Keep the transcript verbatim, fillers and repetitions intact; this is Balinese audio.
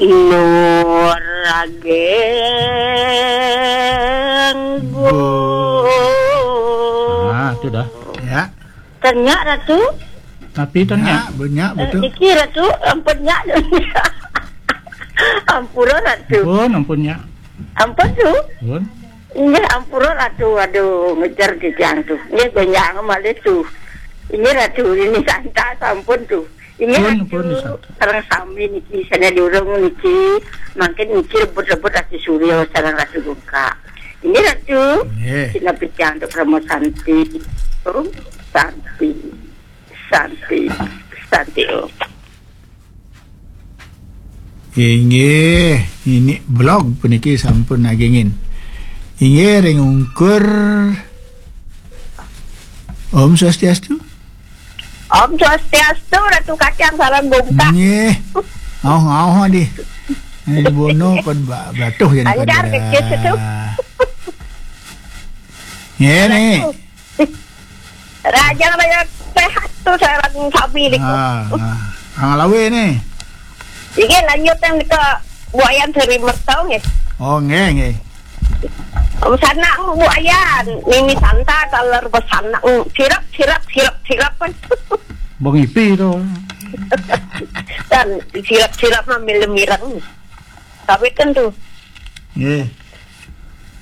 Nur Rageng. Ah, itu dah. Ya. Tanya Ratu. Tapi tanya. Ya, banyak. Eh, betul. Niki Ratu, ampun nya. Ampura Ratu. Ampun, ampun nya. Ampun tu. Ampun. Inggih, ampura Ratu. Aduh, ngejar titiang tu. Inggih, gonjang malih tu. Inggih Ratu, ini santa sampun tu. Inggih Ratu, sareng sami niki, sana durung niki. Mangkin niki rebut-rebut Ratu Surya sareng Ratu Gungkak. Inggih Ratu. Inggih. Sinapi tiang tu Parama Santi. Om Santi. Santi. Santi Om. Inggih, ini blog puniki sampun nagingin. Inggih, ring ungkur. Om Swastiastu. Om Swastiastu, Ratu Kacang sareng Gungkak. Nggih. Aoh, aoh, di. Ini bono pun ba-, batuh jadi. Lancar pada. Kecil itu. Nggih, nih. Rajang, rajang sehat tu sareng sami niku. Ah, ah. Kang Lawe nih. Iki lanjut yang ke buayan seri mertau nggih. Oh, nggih, nggih. Om sanak buayan, mimi santa taler besanak, sirap, sirap, sirap, sirap. Bang Ipi tu. Dan sirap-sirap mah milem-mireng. Tapi kan tu. Nggih.